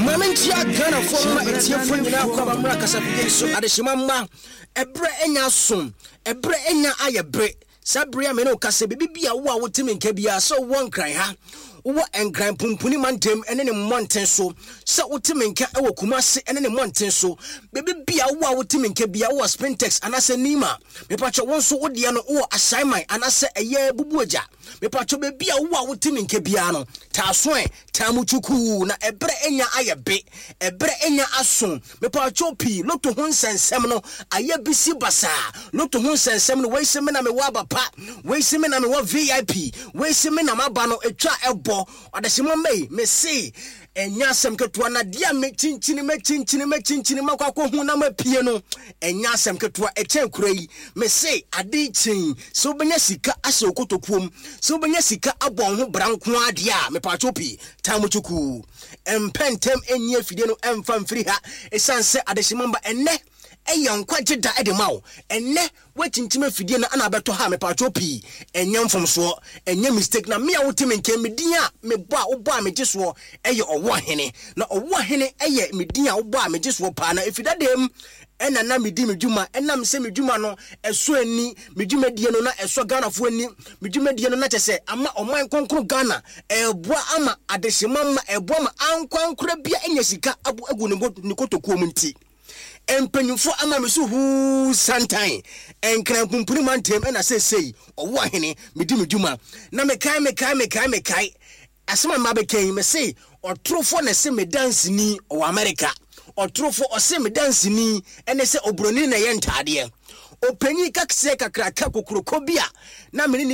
Maame nkyia Ghanafoɔ mma atiefoɔ nyinaa kɔ aba mmra kasafidie yi so. Adehyema mma, ɛberɛ anya aso, ɛberɛ anya ayɛ bere. Saa bere a me ne wo kasa, biribi bi a wo a wote me nka biara, sɛ wowɔ Nkran ha, wowɔ Nkran Pumpuni mantam ne ne mmɔnten so, sɛ wote me nka wɔ Kumasi ne ne mmɔnten so, baabi bi a wo a wote me nka biara, wowɔ Spintex anaasɛ Nima, mepatwɛ wo nso wo deɛ no wowɔ Ashaiman anaasɛ ɛyɛ Bubuagya. Mepatwɔ baabi a wowɔ a wote me nka biara no, taa so ɛ, taa mu kyukuu na ɛberɛ anya ayɛ be, ɛberɛ anya aso. Mepatwɔ pii, loto ho nsɛnsɛm no ayɛ bisi basaa. Loto ho nsɛnsɛm no, wei se me na mewɔ aba pa, wei se me na mewɔ VIP, wei se me na m'aba no ɛtwa ɛbɔ. Ɔdesema mma yi, mese ɛnyɛ asɛm ketewa na deɛ a mekyinkyini mɛkyinkyini mɛkyinkyini makɔ akɔhu na mapie no, ɛnyɛ asɛm ketewa, ɛkyɛn kura yi. Mese ade kyen sɛ wobɛnya sika ahyɛ wo kotokuo mu, sɛ wobɛnya sika abɔ wo ho bra nko ara deɛ a, mepatwo pii, taa mu kyukuu. Mpɛ ntɛm nyi afidie no mfa mfiri ha, ɛsiane sɛ adehyema mba ɛnnɛ ɛyɛ nkwagye da de ma wo. Ɛnnɛ Woakyinkyim afidie no ana abɛtɔ ha mepatwɔ pii ɛnyɛ mfomsoɔ ɛnyɛ mistake na me a wote me nkyɛn me din a mebɔ a wobɔ a megye soɔ ɛyɛ Ɔwoahene na Ɔwoahene ɛyɛ me din a wobɔ a megye soɔ paa na ɛfiri dadaam ɛna na medi me dwuma ɛnam sɛ me dwuma no ɛsɔ ani me dwumadie no na ɛsɔ Ghanafoɔ ani me dwumadie no na kyɛ sɛ ama ɔman kronkron Ghana ɛɛboa ama adehyema mma ɛɛboa ma ankorankora bia anya sika agu ne kotokuo mu nti. Mpanyimfo ama me so huu santan, Nkran pumpuni mantam na seesei ɔwo ahene, medi me dwuma. Na mekae, mekae, mekae, mekae asɛm a meba bɛka yi, mese ɔtorofo na ɛse me danseni ɔwɔ Amerika. Ɔtorofo ɔse me danseni ɛne sɛ obroni na ɛyɛ ntaadeɛ. Ɔpanyin kaseɛ kakraka kokroko bi a na me ne ne.